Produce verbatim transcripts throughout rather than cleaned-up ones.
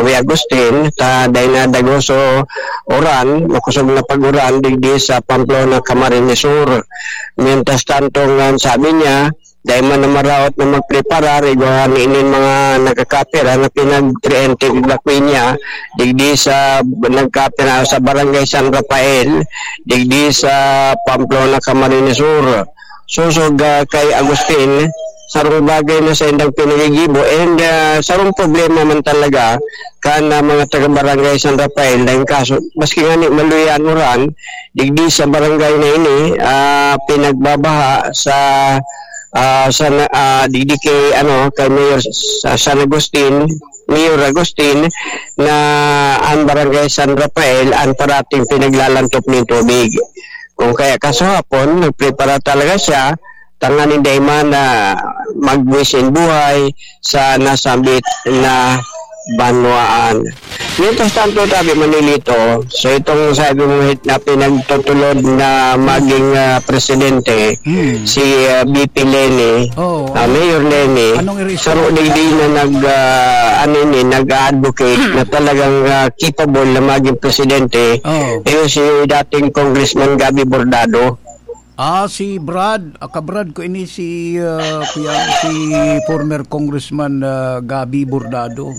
Kuya Agustin, ta dai na dagoso uran, makosog na pag-uran digdi sa Pamplona, Camarines Sur. Mientras tanto, ngan sabi niya, dai man na maraot na magpreparar igwa nin mga nagkakapira na pinag-preemptive evacuation niya digdi sa nagkapira sa Barangay San Rafael, digdi sa Pamplona, Camarines Sur. Sosog, ah, kay Agustin, sarong bagay na sa indang pinagigibo, and, ah, sarong problema man talaga kan, ah, mga taga Barangay San Rafael na yung kaso, maski nga ni maluyan uran, digdi sa barangay na ini, ah, pinagbabaha sa, ah, sa na-, ah, digdi kay, ano, kay Mayor sa San Agustin, Mayor Agustin, na ang Barangay San Rafael ang parating pinaglalantop ng tubig. Kung kaya kasahapon, nagprepara talaga siya, tanganing dai man na magwisin buhay sa nasambit na banwaan. Mientras tanto, sabi Manilito, so itong sabi mo na pinagtutulod na maging, ah, presidente, Hmm. si, ah, B P Leni, Oo. ah, Mayor Leni, Anong reason? saro digdi na nag, ah, ano ini, nag-advocate na talagang, ah, capable na maging presidente, Oo. yun si dating Congressman Gabby Bordado. Ah, si Brad, ah, kabrad ko ini si, ah, kuya, si former Congressman, ah, Gabby Bordado.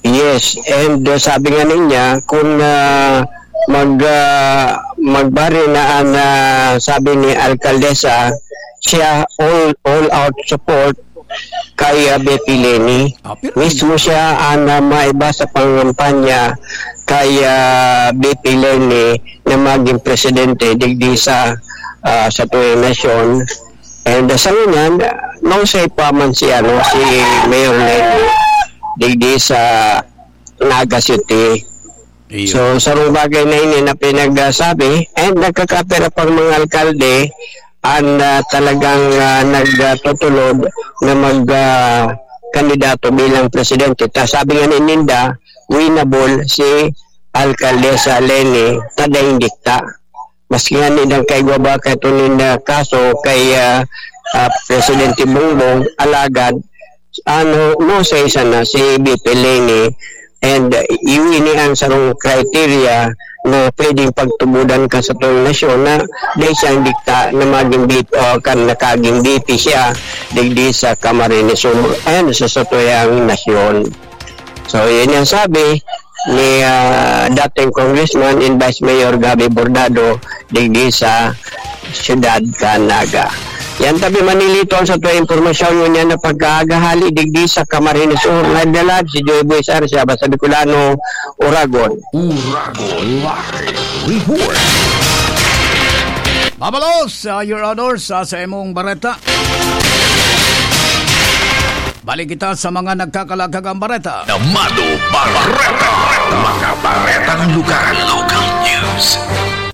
Yes, and, uh, sabi nga niya, kung, uh, mag, uh, magbari na ang, uh, sabi ni Alkaldesa, siya all, all out support kay, uh, B P Leni. Ah, pero Mismo siya ang, uh, maiba sa pangampanya kay, uh, B P Leni na maging presidente digdi sa, uh, sa tuyang nasyon. And, uh, sa ngunyan, uh, no, sa pa man si, ano, si Mayor Leni digdi sa Naga City. Iyo. So, sarong bagay na ini na pinagsasabi, and nagkakapira pang mga alkalde ang, ah, talagang, ah, nagtutulod na mag, ah, kandidato bilang presidente. Ta sabi nga ni ninda, winnable si Alkaldesa Leni, ta daing dikta. Maski nga ni dang kaigwa ba kay tunin na kaso kay, ah, ah, Presidente Bongbong, alagad, ano, no, sa isa na si B P Leni, and, uh, iwi ni ang sarong criteria na pwedeng pagtubudan ka sa tong nasyon na dahil siyang dikta na maging B P, o kan nakaging B P siya, digdi sa Camarines Sur and sa satuyang nasyon. So, yun yung sabi ni, ah, dating Congressman and Vice Mayor Gabby Bordado, digdi sa siyudad kan Naga. Yan tabi manilito ang sa tuwa impormasyon ngunyan na pagkaagahali digdi sa Camarines Sur. Live na live si Joy Boy Sarsia, basta Bicolano, Oragon. Oragon Live Report. Mabalos, ah, Your Honor, sa, sa imong bareta. Balik kita sa mga nagkakalagkagang bareta. Namado Bareta. Mga baretang lugar. Local news.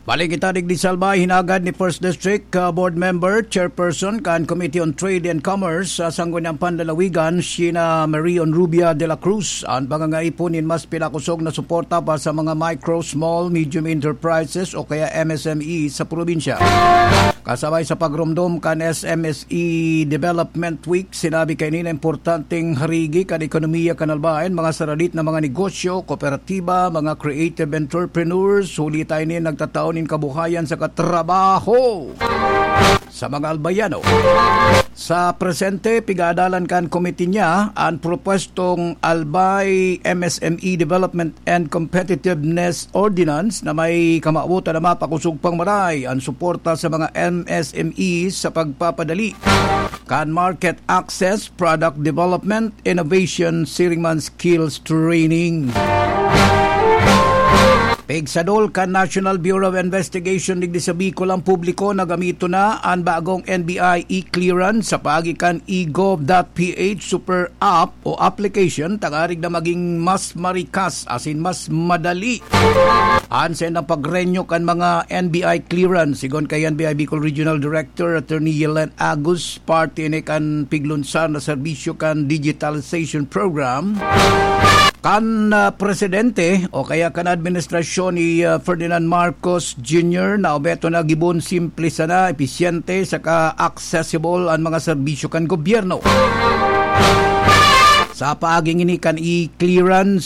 Balik kita digdi sa Albay, hinagad ni First District, ah, Board Member, Chairperson kan Committee on Trade and Commerce sa Sangguniang Panlalawigan, Sheena Marion Rubia de la Cruz, an pangangaipon nin mas pinakosog na suporta pa sa mga micro, small, medium enterprises o kaya M S M E sa probinsya. Kasabay sa pagromdom kan S M S E Development Week, sinabi kaini na importanteng harigi kan ekonomiya kan Albay, mga saradit na mga negosyo, kooperatiba, mga creative entrepreneurs, huli ta ini nagtatao nin kabuhayan saka trabaho sa mga Albayano. Sa presente, pigaadalan kan komite niya an propwestong Albay M S M E Development and Competitiveness Ordinance na may kamawotan na mapakosog pang maray an suporta sa mga M S M E sa pagpapadali kan market access, product development, innovation, siring man skills training. Pigsadol kan National Bureau of Investigation digdi sa Bicol ang publiko na gamiton na an bagong N B I e-clearance sa paagi kan e gov dot P H super app o application tangarig na maging mas marikas asin mas madali an saindang pag-renew kan mga N B I clearance. Sigon kay N B I Bicol Regional Director Attorney Yelen Agus, parte ini kan piglunsar na serbisyo kan digitalization program kan, ah, presidente o kaya kan administrasyon ni, ah, Ferdinand Marcos Junior na obeto na gibon simple sana, episyente saka accessible an mga serbisyo kan gobyerno. Sa paaging ini kan e-clearance,